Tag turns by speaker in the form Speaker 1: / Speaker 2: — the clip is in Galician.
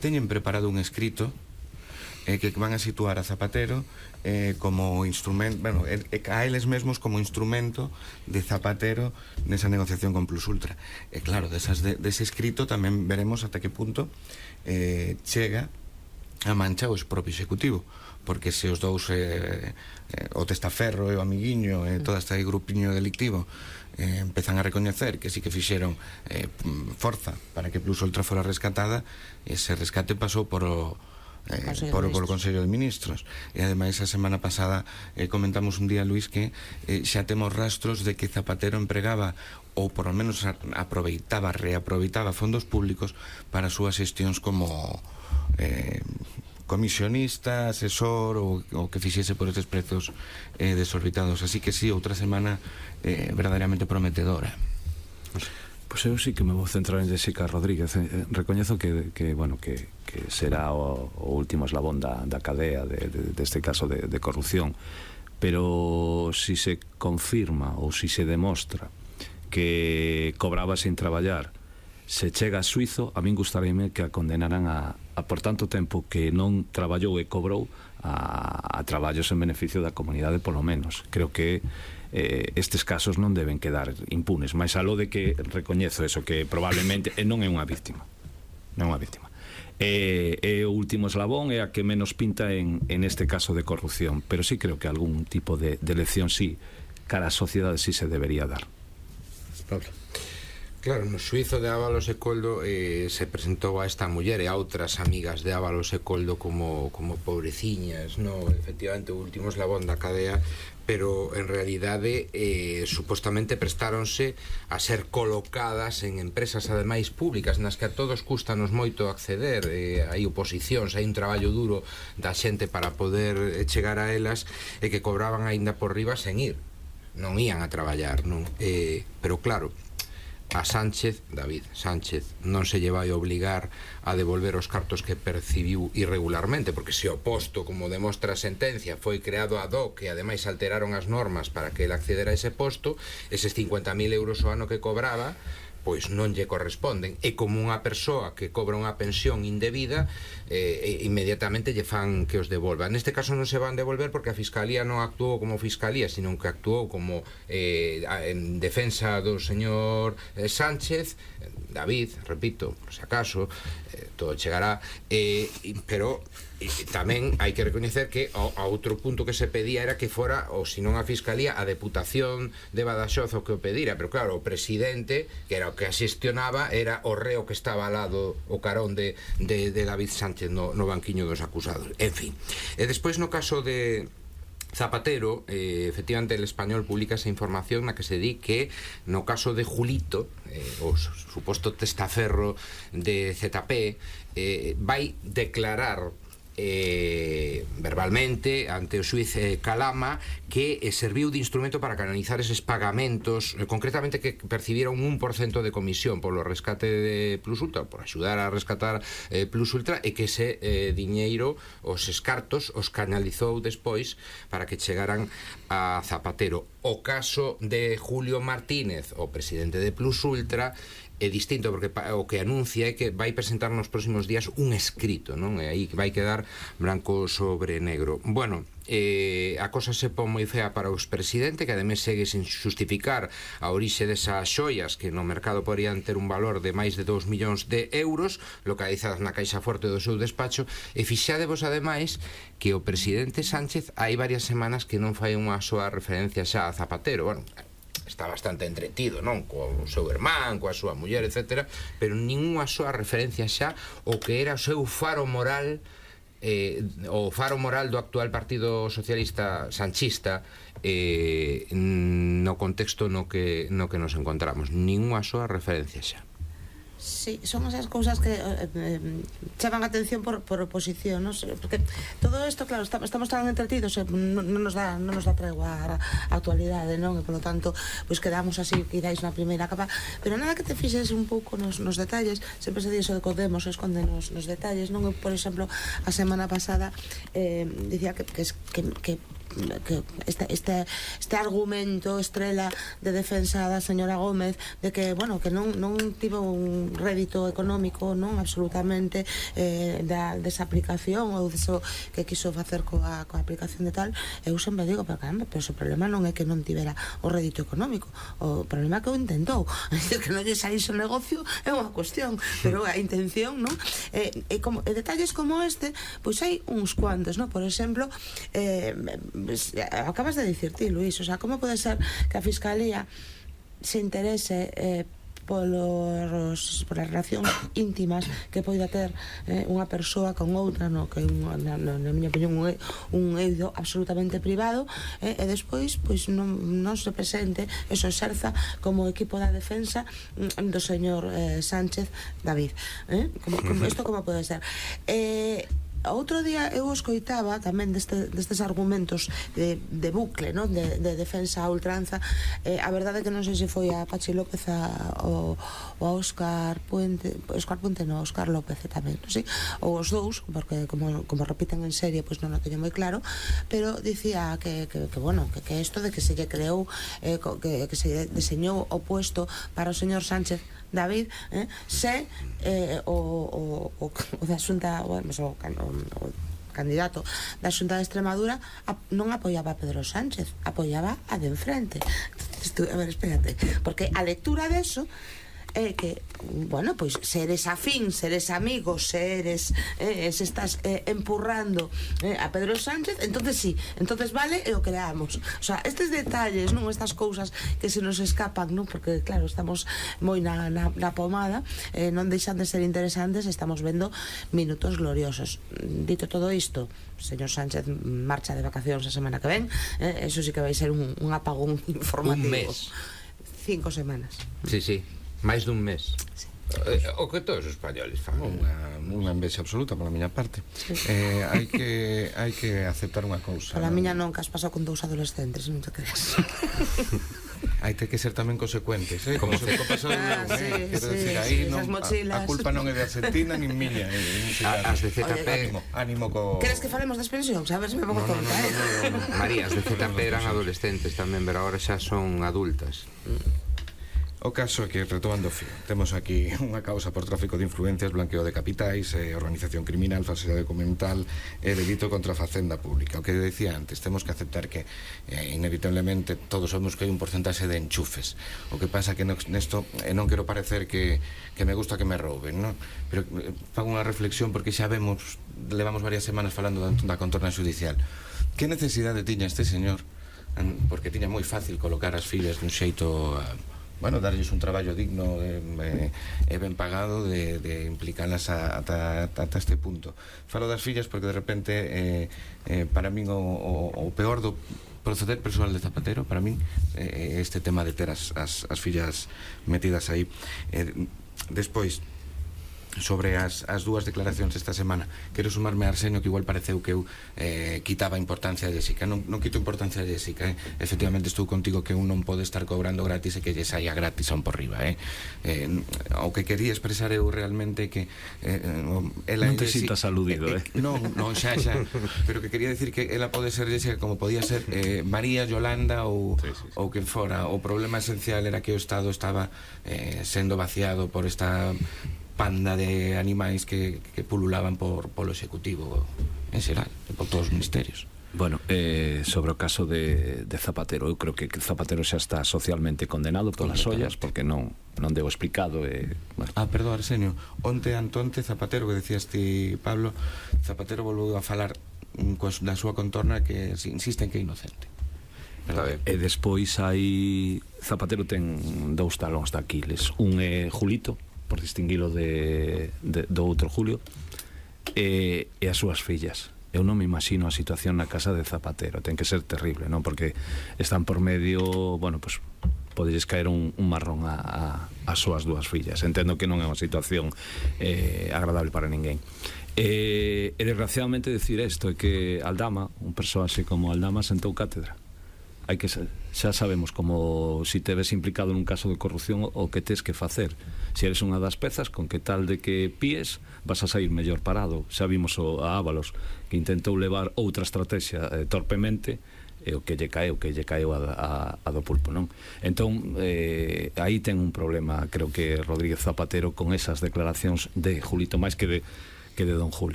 Speaker 1: teñen preparado un escrito que van a situar a Zapatero como instrumento, bueno, a eles mesmos como instrumento de Zapatero nesa negociación con Plus Ultra. E claro, dese escrito tamén veremos ata que punto chega a mancha o propio executivo, porque se os dous o testaferro e o amiguiño e todo este grupiño delictivo empezan a recoñecer que sí que fixeron forza para que Plus Ultra fora rescatada, ese rescate pasou por o Consello de Ministros. E ademais a semana pasada comentamos un día, Luís, que xa temos rastros de que Zapatero empregaba ou por lo menos reaproveitaba fondos públicos para as súas xestións como comisionista, asesor ou que fixese por estes prezos desorbitados. Así que sí, outra semana verdadeiramente prometedora.
Speaker 2: Pois eu sí que me vou centrar en Jessica Rodríguez. Recoñezo que será o último eslabón da cadea deste caso de corrupción, pero si se confirma ou si se demostra que cobraba sin traballar, se chega a xuizo, a min gustaríame que a condenaran a por tanto tempo que non traballou e cobrou a traballos en beneficio da comunidade, polo menos. Creo que estes casos non deben quedar impunes, máis aló de que recoñezo eso, que probablemente non é unha víctima, non é unha víctima. É o último eslabón, é a que menos pinta en este caso de corrupción, pero sí creo que algún tipo de lección sí, cara á sociedade sí se debería dar.
Speaker 3: Pablo. Claro, no xuizo de Ábalos e Coldo se presentou a esta muller e a outras amigas de Ábalos e Coldo como pobreciñas, no, efectivamente o último eslabón da cadea, pero en realidade supostamente prestáronse a ser colocadas en empresas ademais públicas nas que a todos custanos moito acceder, hai oposicións, hai un traballo duro da xente para poder chegar a elas, e que cobraban aínda por riba sen ir, non ían a traballar, non? Pero claro, a David Sánchez non se lle vai obligar a devolver os cartos que percibiu irregularmente, porque se o posto, como demostra a sentencia, foi creado ad hoc e ademais alteraron as normas para que ele accedera a ese posto, eses 50.000 euros ao ano que cobraba pois non lle corresponden, e como unha persoa que cobra unha pensión indebida, inmediatamente lle fan que os devolva. Neste caso non se van devolver porque a Fiscalía non actuou como Fiscalía, sino que actuou como en defensa do señor Sánchez, David, repito, por se acaso, todo chegará, pero tamén hai que recoñecer que a outro punto que se pedía era que fora, ou se non a Fiscalía, a Deputación de Badaxoz o que o pedira, pero claro, o presidente, que era o que asestionaba, era o reo que estaba ao lado, o carón de David Sánchez no banquiño dos acusados. En fin, e despois no caso de Zapatero, efectivamente el Español publica esa información na que se di que no caso de Julito, o suposto testaferro de ZP, vai declarar verbalmente ante o xuiz Calama que serviu de instrumento para canalizar eses pagamentos, concretamente que percibiron un 1% de comisión polo rescate de Plus Ultra, por axudar a rescatar Plus Ultra, e que ese diñeiro, os escartos, os canalizou despois para que chegaran a Zapatero. O caso de Julio Martínez, o presidente de Plus Ultra, é distinto, porque o que anuncia é que vai presentar nos próximos días un escrito, non? E aí vai quedar branco sobre negro. Bueno, a cosa se pon moi fea para o expresidente, que ademais segue sin justificar a orixe desas xoias que no mercado poderían ter un valor de máis de 2 millóns de euros localizadas na caixa forte do seu despacho. E fixadevos ademais que o presidente Sánchez hai varias semanas que non fai unha soa referencia xa a Zapatero. Bueno, está bastante entretido, non? Co seu irmán, coa súa muller, etc. Pero ninguna soa referencia xa o que era o seu faro moral, o faro moral do actual Partido Socialista Sanchista, no contexto no que nos encontramos. Ninguna soa referencia xa.
Speaker 4: Sí, son esas cousas que chaman a atención por oposición, non? Porque todo isto, claro, estamos tan entretidos, non nos dá tregua a actualidade, non? E polo tanto, pois quedamos así, quedáis na primeira capa, pero nada que te fixes un pouco nos detalles. Sempre se di iso de Podemos esconde nos detalles, non? Eu, por exemplo, a semana pasada dicía que este argumento estrela de defensa da señora Gómez de que, bueno, que non tivo un rédito económico, non, absolutamente, desa aplicación ou deso que quiso facer coa aplicación de tal. Eu sempre digo, pero caramba, pero o problema non é que non tivera o rédito económico, o problema é que o intentou, que non lle saíse o negocio é unha cuestión, pero a intención, non? Detalles como este, pois hai uns cuantos, non? Por exemplo, acabas de dicir ti, Luís, o sea, como pode ser que a Fiscalía se interese polas relacións íntimas que poida ter unha persoa con outra, no, que na miña opinión un eido absolutamente privado, e despois pois non se presente e se exerza como equipo da defensa do señor Sánchez David, isto como pode ser? Outro día eu escoitaba tamén destes argumentos de bucle, non? De defensa a ultranza. A verdade é que non sei se foi a Pachi López ou a Óscar Puente, Óscar López tamén, non sei, ou os dous, porque como repiten en serie, pois non o teño moi claro, pero dicía que bueno, que isto de que se lle creou, que se deseñou o puesto para o señor Sánchez David, se o da Xunta, o candidato da Xunta de Extremadura non apoiaba a Pedro Sánchez, apoiaba a de enfrente. A ver, espérate, porque a lectura deso é que, bueno, pois se eres afín, se eres amigo, se estás empurrando a Pedro Sánchez, entonces sí, entonces vale e o creamos. O sea, estes detalles, non, estas cousas que se nos escapan, non, porque claro, estamos moi na pomada, non deixan de ser interesantes, estamos vendo minutos gloriosos. Dito todo isto, señor Sánchez marcha de vacacións a semana que ven, eso sí que vai ser un apagón informativo.
Speaker 3: Un mes.
Speaker 4: 5 semanas.
Speaker 3: Sí, sí. Máis dun mes. Sí. O que todos os españoles fan.
Speaker 1: Unha envexa absoluta pola miña parte. Hai que aceptar unha cousa.
Speaker 4: Pola miña non, que has pasado con 2 adolescentes, non te creas.
Speaker 1: Hai que ser tamén consecuentes, como se pasou quero decir, aí a culpa non é de Argentina nin miña.
Speaker 3: As de ZP,
Speaker 1: ánimo co...
Speaker 4: Queres que falemos das pensións? A ver se me pongo tonta.
Speaker 3: María, as de ZP eran adolescentes tamén, pero agora xa son adultas.
Speaker 1: O caso é que, retomando o fío, temos aquí unha causa por tráfico de influencias, blanqueo de capitais, organización criminal, falsidade documental e delito contra a facenda pública. O que decía antes, temos que aceptar que inevitablemente todos somos que hai un porcentaxe de enchufes. O que pasa que nesto non quero parecer que me gusta que me rouben, non? Pero fago unha reflexión porque xa levamos varias semanas falando da contorna judicial. Que necesidade tiña este señor? Porque tiña moi fácil colocar as fillas dun xeito... bueno, darlles un traballo digno e ben pagado de implicarlas ata este punto. Falo das fillas porque de repente para min o peor do proceder persoal de Zapatero, para min este tema de ter as fillas metidas aí. Despois, sobre as dúas declaracións esta semana, quero sumarme a Arsenio, que igual pareceu que eu quitaba importancia a Jessica. Non quito importancia a Jessica, efectivamente estou contigo que un non pode estar cobrando gratis e que lle saia gratis a un por riba. O que quería expresar eu realmente que ela
Speaker 2: non te sintas aludido,
Speaker 1: non, xa, pero que quería decir que ela pode ser Jessica como podía ser María, Yolanda ou quen fora. O problema esencial era que o Estado estaba sendo vaciado por esta panda de animais que pululaban polo Executivo en xeral, por todos os ministerios.
Speaker 2: Bueno, sobre o caso de Zapatero, eu creo que Zapatero xa está socialmente condenado polas ollas, porque non deu explicado. Bueno.
Speaker 1: Perdón, Arsenio, onte Zapatero, que decías ti, Pablo, Zapatero volveu a falar da súa contorna que insisten que é inocente.
Speaker 2: E despois hai... Zapatero ten 2 talóns de Aquiles. Un é Julito, por distinguilo do outro Julio, e as súas fillas. Eu non me imagino a situación na casa de Zapatero, ten que ser terrible, non? Porque están por medio, bueno, pues poderes caer un marrón as súas 2 fillas. Entendo que non é unha situación agradable para ninguén. E desgraciadamente decir isto é que Aldama, un persoaxe como Aldama, sentou cátedra. Hai que xa sabemos como si te ves implicado nun caso de corrupción o que tes que facer. Se eres unha das pezas, con que tal de que píes vas a sair mellor parado. Xa vimos a Ábalos, que intentou levar outra estrategia torpemente o que lle caeu a do pulpo, non? Entón, aí ten un problema, creo que Rodríguez Zapatero, con esas declaracións de Julito máis que de Don Julio.